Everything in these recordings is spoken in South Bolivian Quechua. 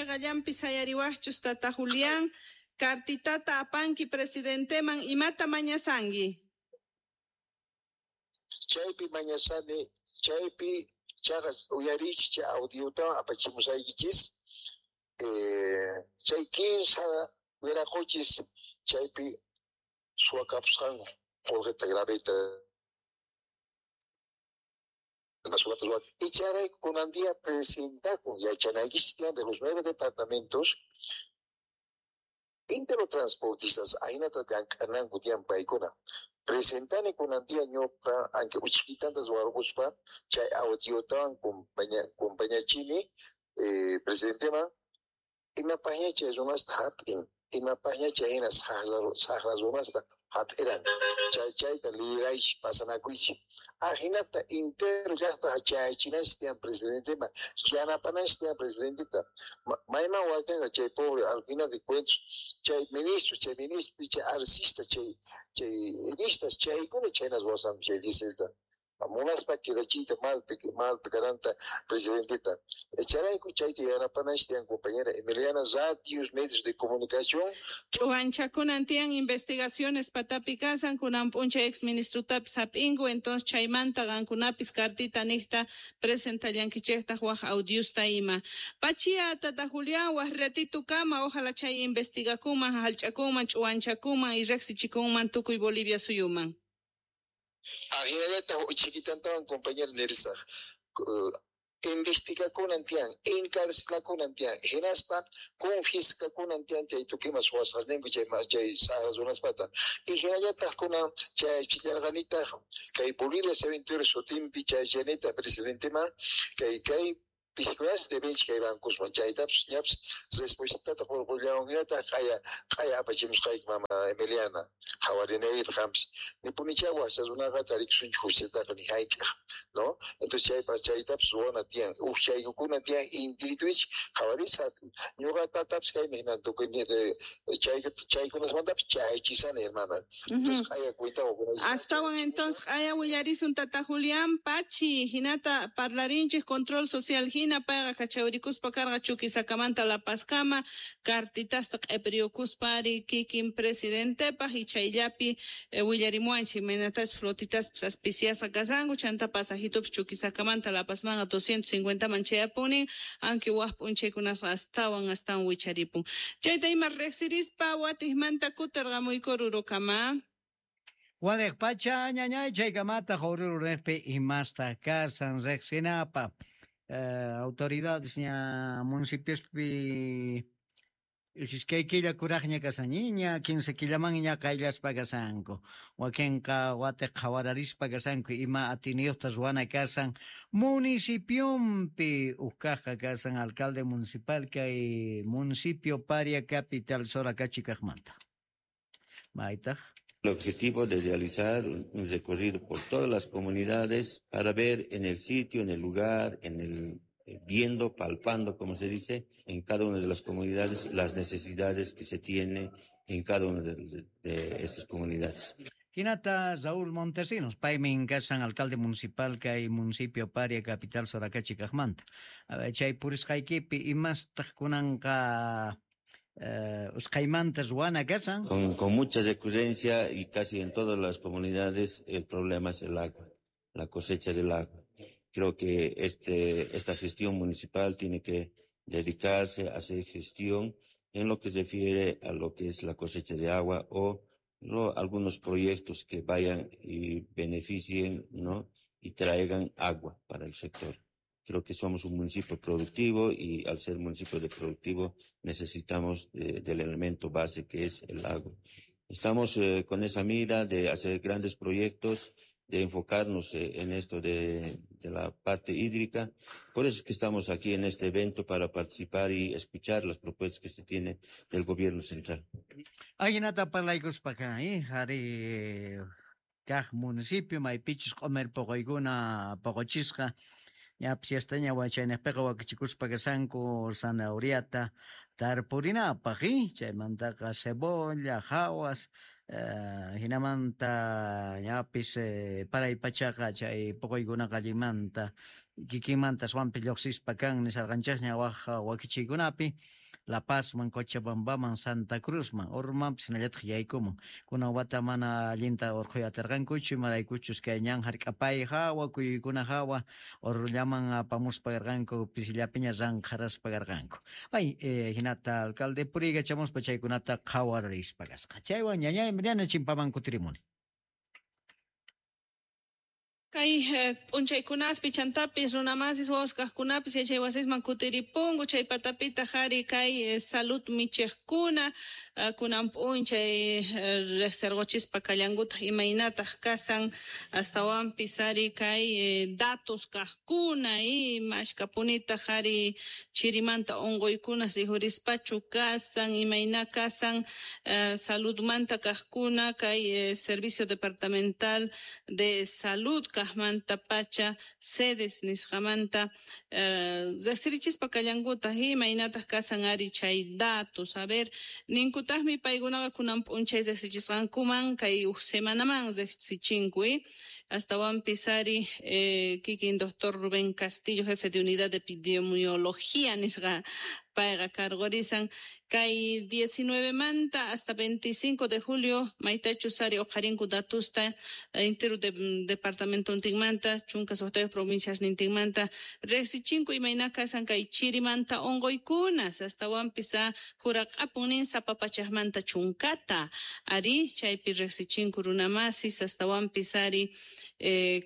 Cheqallanpi sayariwajchus tata Julián, cartitata apanki presidenteman imata mañasanki? Chaypi mañasani, chaypi chaqas uyariychis chay audiotawan apachimusaykichis, chay kinsa wiraquchis chaypi suwakapusqanku qolqeta graveta y chayrayku kunan día presentakun yachanaykichis tiyan de los 9 departamentos interotransportistas ahinata llank'ananku tiyan paykuna. Presentani kunan día ñuqa anque uchikitanta ruwarquspa chay audiotawan compañachini presidenteman imapaqña chay runasta hap'in, imapaqña chay hina saqra runasta hap'iran, chay chayta liraychis pasanakuychis. Ajinata entero llaqta chayachinanchis tiyan presidenteman, yanapananchis tiyan presidenteta. Mayman wakanqa chay pobre al final de cuentas, chay ministro, chay ministro, chay arcista, chay enistas, chaykuna chaynas wasanku chay dieselta. Munaspa quedachiyta malpi karanta presidenteta. Chayrayku chayta yanapananchis tiyan compañera Emiliana, radios, medios de comunicación. Ch'uwanchakunan tiyan investigaciones patapi kasan, kunan p'unchay ex ministrutapis hap'inku, entonces chaymanta qankunapis cartita niqta presentallankichejtaq waj audiosta ima. Pachia tata Julián, waj ratito kama, ojalá chay investigakunman, hallch'akunman, ch'uwanchakunman y riqsichikunman tukuy Bolivia suyuman. Ajinallataq chiquitantawan compañero nirisaq, investigakunan tiyan, encarcelakunan tiyan, hinaspa confiscakunan tiyan chay tukuyma suwasqasninku chay saqra runaspata. Y hinallataq kunan chay chillarqanitaq kay Bolivia 71 sutinpi chay chaynita presidenteman kay piskunas debenchik kay bancosman chaytapas ñapas respuestata qurqullawanñataq q'aya apachimusqayki mama Emiliana qhawarinaypaq qampis nipunichá wajcha runaqa tarikusunchik justiataqa ni hayk'aq, ¿no? Entonces chaypas chaytapas ruwana tiyan ujchaykukuna tiyan intirituichik qhawarisa ñuqa tatapis kaymi hinan tukuy chaykunasmantapis chayachisani hermana. Entonces q'aya cuenta Astawan entonces q'aya willarisun tata Julián Pachi hinata parlarinchik control social hina payqa kachawrikuspa karqa Chuquisakamanta La Pazkama cartitasta q'ipiriyukuspa ari kikin presidentepaq y chayllapi willarimuwanchik imaynatachus flotitaspis aspiciasqa kashanku chanta pasajitupis Chuquisakamanta La Pazmanqa 250 man chayapunin aunque waj p'unchaykunasqa astawan astawan wicharipun. Chayta ima riqsirispa watijmanta kutirqamuyku rurukama. Waliq pacha ñañay chaykamata Oruro imasta kasan riqsinapa. Autoridades ña municipiospi iskay killa kuraqña kasañiña, 15 killaman ña qayllaspa kasanku. Wakinqa watiq qhawararispa kasanku ima atiniyuqta ruwana kasan municipionpi uqkaqqa kasan alcalde municipal kay municipio Paria Capital Soracachi kaqmanta. Maytaq. El objetivo de realizar un recorrido por todas las comunidades para ver en el sitio, en el lugar, en el viendo, palpando, como se dice, en cada una de las comunidades, las necesidades que se tiene en cada una de estas comunidades. Hinata Raúl Montesinos, paymin kasan alcalde municipal kay municipio Paria Capital Soracachi kaqmanta. Chay purisqaykipi imastaq kunanqa usqaymanta ruwana kasan. Con mucha recurrencia y casi en todas las comunidades el problema es el agua, la cosecha del agua. Creo que esta gestión municipal tiene que dedicarse a hacer gestión en lo que se refiere a lo que es la cosecha de agua o algunos proyectos que vayan y beneficien, ¿no? Y traigan agua para el sector. Creo que somos un municipio productivo y al ser municipio de productivo necesitamos del elemento base que es el agua. Estamos con esa mira de hacer grandes proyectos, de enfocarnos en esto de la parte hídrica. Por eso es que estamos aquí en este evento para participar y escuchar las propuestas que se tiene del gobierno central. Ajinata parlaykuspaqa, jari kaq municipio maypichus q'umir poqoykuna poqochisqa ñapis yastaña wachaynejpiqa wakichikuspa kasanku zanahoriata tarpurinapaq, chaymantaqa cebolla, jawas, hinamanta ñapis paray pachaqa chay poqoykunaqa allinmanta Kikinmanta aswanpi lloqsispa kan nisarqanchasña waj wakichiykunapi La Pazman, Cochabambaman, Santa Cruzman, Oruromanpis hinallataq yaykumun. Kunan wata mana allinta urqhuy atirqankuchu, imaraykuchus kay ñan hark'apay hawa, kuyuykuna hawa, Orurollaman apamuspa karqanku, pisillapiña ranqharaspa karqanku. May hinata alcalde puriykachamuspa chaykunata qhawarispa kasqa. Chaywan ñañay Emiliana chimpaman kutirimuni. Kay p'unchaykunaspi chantapis runamasis wawas kajkunapis yachaywasisman kutiripunku chay patapitaq ari kay salud michejkuna kunan p'unchay riqsirquchispa kallankutaq imaynataq kasan astawanpis ari kay datos kajkuna mashkapunitaq ari chirimanta unquykunas rikhurispachu kasan imayna kasan saludmanta kajkuna kay Servicio Departamental de Salud kajmanta pacha sedes nisqamanta riqsirichispa kallankutaq imaynataq kasan ari chay datos. A ver, ninkutaqmi paykunaqa kunan p'unchay riqsichisqankuman kay uj semanaman riqsichinku astawanpis ari kikin doctor Rubén Castillo, jefe de unidad de epidemiología nisqa payqa cargorisan kay 19 manta hasta 25 de julio maytachus ari uqharinku datusta entero departamento ntinmanta chunka suqtayuq provincias nintinmanta riqsichinku imayna kasan kay chirimanta unquykunas astawanpis juraq'apun nin sapa pachaqmanta chunkata ari chaypi riqsichinku runamasis astawanpis ari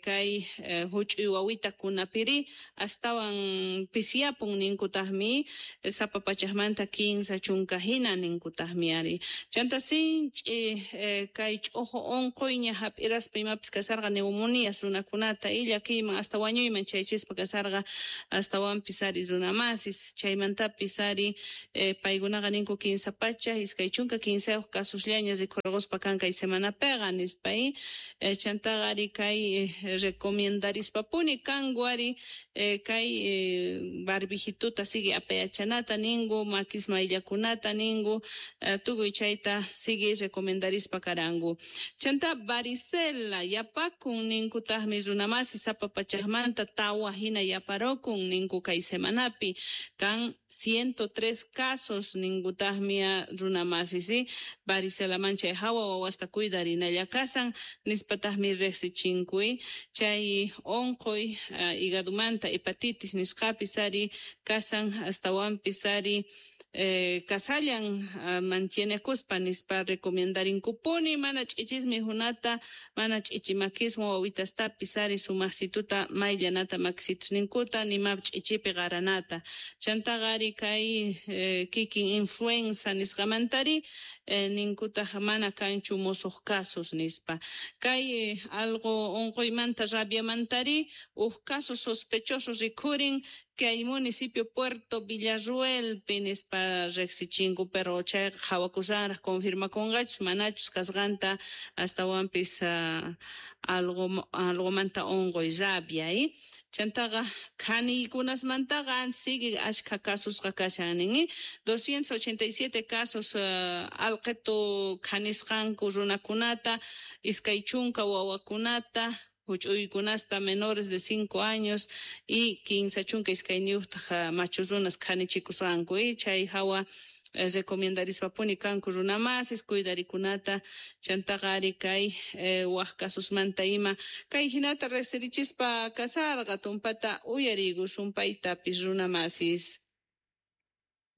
kay huch'uy wawitakunapiri astawan pisiyapun ninkutaqmi sapa pachaqmanta 15 chunka hina ninkutaqmi ari. Chanta sinch'i kay ch'uju unquyña hap'iraspa imapis kasarqa neumonías runakunata illakiyman hasta wañuyman chaychispa kasarqa astawanpis ari runamasis chaymantapis ari paykunaqa ninku 15 pacha 23 casusllaña rikhurquspa kan kay semanapiqa nispa chantaqa ari kay recomendarishpapuni kanku ari kay barbijituta sigue apayachanata ninku makis mayllakunata ninku tukuy chayta sigue recomendarispa karanku. Chanta varicela yapakun ninkutaqmi runamasi sapa pachaqmanta tawa hina yaparokun ninku kay semanapi kan 103 casos ninkutaqmi runamasi si varicelaman chay hawa wawasta cuidarinalla kasan nispataqmi riqsichinkui chay unquy hígadumanta hepatitis nisqapis ari kasan astawanpis ari kasallan mantienekuspa nispa recomendarinkupuni mana ch'ichismi hunata mana ch'ichi makiswan wawitastapis ari sumaqsituta mayllanata makisitusninkuta nima ch'ichipi qaranata chantaqa ari kay kikin influenza nisqamantari ninkutaq mana kanchu musuq casos nispa kay algo unquymanta rabiamantari uj caso sospechoso rikhurin kay municipio Puerto Villarruelpi nispa riqsichinku pero chayqa qhawakusanraq confirmakunqachus manachus kasqanta astawanpis algomanta unquy rabia chantaqa khaniykunasmantaqa sigue ashkha casusqa kashan nin 287 casos alqetu khanisqanku runakunata 20 wawakunata huch'uykunasta menores de 5 años y 15 machu runas khanichikusqanku chay hawa recomendarishpapuni kanku runamasis cuidarikunata chantaqa ari kay waj casusmanta ima kay hinata riqsirichispa kasarqa tumpata uyariykusun paytapis runamasis.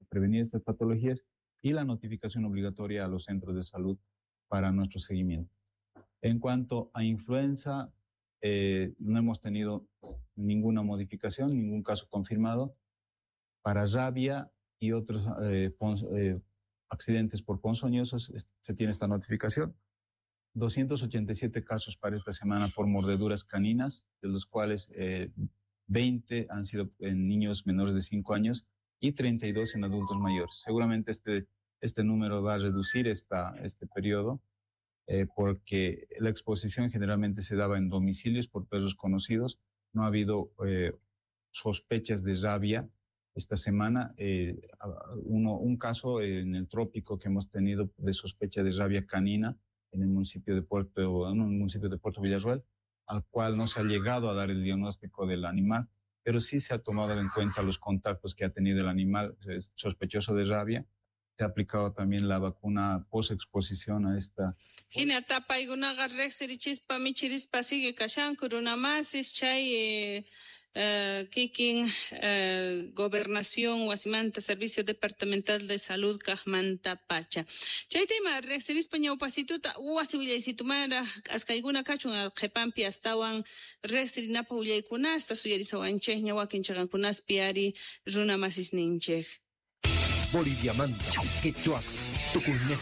Prevenir estas patologías y la notificación obligatoria a los centros de salud para nuestro seguimiento. En cuanto a influenza, no hemos tenido ninguna modificación, ningún caso confirmado. Para rabia y otros accidentes por ponzoñosos se tiene esta notificación. 287 casos para esta semana por mordeduras caninas, de los cuales 20 han sido en niños menores de 5 años y 32 en adultos mayores. Seguramente este número va a reducir este periodo, porque la exposición generalmente se daba en domicilios por perros conocidos. No ha habido sospechas de rabia esta semana. Un caso en el trópico que hemos tenido de sospecha de rabia canina en el municipio de Puerto, en un municipio de Puerto Villarroel, al cual no se ha llegado a dar el diagnóstico del animal, Pero sí se ha tomado en cuenta los contactos que ha tenido el animal sospechoso de rabia. Se ha aplicado también la vacuna post-exposición a esta. Hina tapaykunaqa riqsirichispa michirispa sigue kashanku runamasis chay kikin gobernación wasimanta Servicio Departamental de Salud kajmanta pacha. Chay tema riqsirispa ñawpasituta wasi willaysitumara k'askaykuna kachun qhipanpi astawan riqsirinapaq willaykunasta suyarisawanchikña wakin chaqankunaspi ari runamasisninchik. Boliviamanta, Quechua, Tucumán,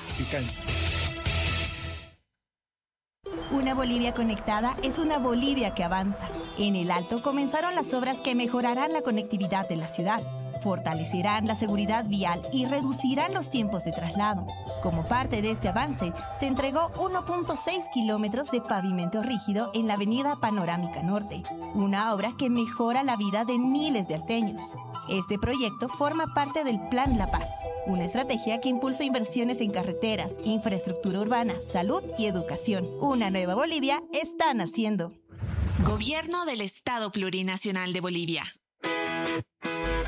Una Bolivia conectada es una Bolivia que avanza. En El Alto comenzaron las obras que mejorarán la conectividad de la ciudad, fortalecerán la seguridad vial y reducirán los tiempos de traslado. Como parte de este avance, se entregó 1.6 kilómetros de pavimento rígido en la avenida Panorámica Norte, una obra que mejora la vida de miles de alteños. Este proyecto forma parte del Plan La Paz, una estrategia que impulsa inversiones en carreteras, infraestructura urbana, salud y educación. Una nueva Bolivia está naciendo. Gobierno del Estado Plurinacional de Bolivia.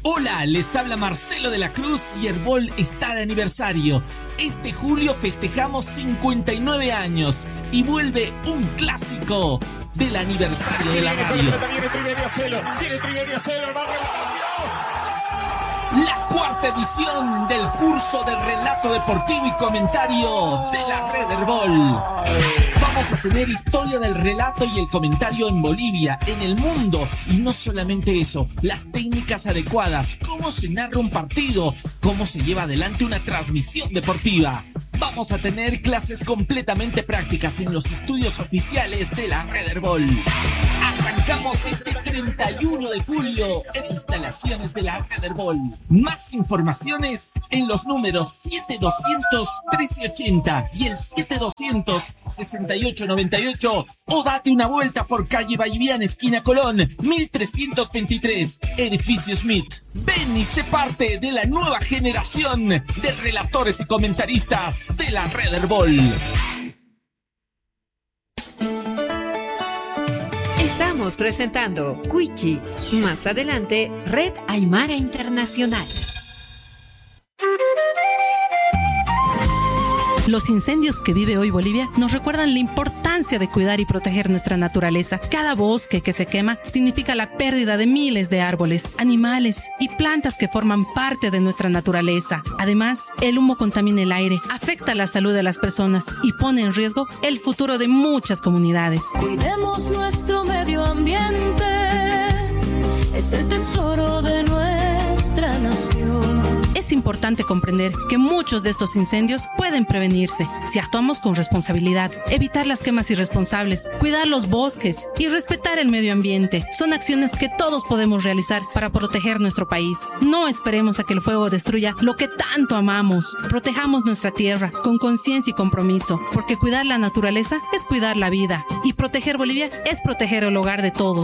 Hola, les habla Marcelo de la Cruz y Herbol está de aniversario. Este julio festejamos 59 años y vuelve un clásico del aniversario de la radio. La cuarta edición del curso de relato deportivo y comentario de la Red Herbol. Vamos a tener historia del relato y el comentario en Bolivia, en el mundo. Y no solamente eso, las técnicas adecuadas, cómo se narra un partido, cómo se lleva adelante una transmisión deportiva. Vamos a tener clases completamente prácticas en los estudios oficiales de la Red Herbol. Arrancamos este 31 de julio en instalaciones de la Red Herbol. Más informaciones en los números 7200-1380 y el 7200-6898 o date una vuelta por calle Vallivian, esquina Colón, 1323, edificio Smith. Ven y sé parte de la nueva generación de relatores y comentaristas de la Red Herbol. Estamos presentando Cuichi. Más adelante, Red Aymara Internacional. Los incendios que vive hoy Bolivia nos recuerdan la importancia de cuidar y proteger nuestra naturaleza. Cada bosque que se quema significa la pérdida de miles de árboles, animales y plantas que forman parte de nuestra naturaleza. Además, el humo contamina el aire, afecta la salud de las personas y pone en riesgo el futuro de muchas comunidades. Cuidemos nuestro medio ambiente, es el tesoro de nuestra nación. Es importante comprender que muchos de estos incendios pueden prevenirse si actuamos con responsabilidad. Evitar las quemas irresponsables, cuidar los bosques y respetar el medio ambiente son acciones que todos podemos realizar para proteger nuestro país. No esperemos a que el fuego destruya lo que tanto amamos. Protejamos nuestra tierra con conciencia y compromiso, porque cuidar la naturaleza es cuidar la vida y proteger Bolivia es proteger el hogar de todos.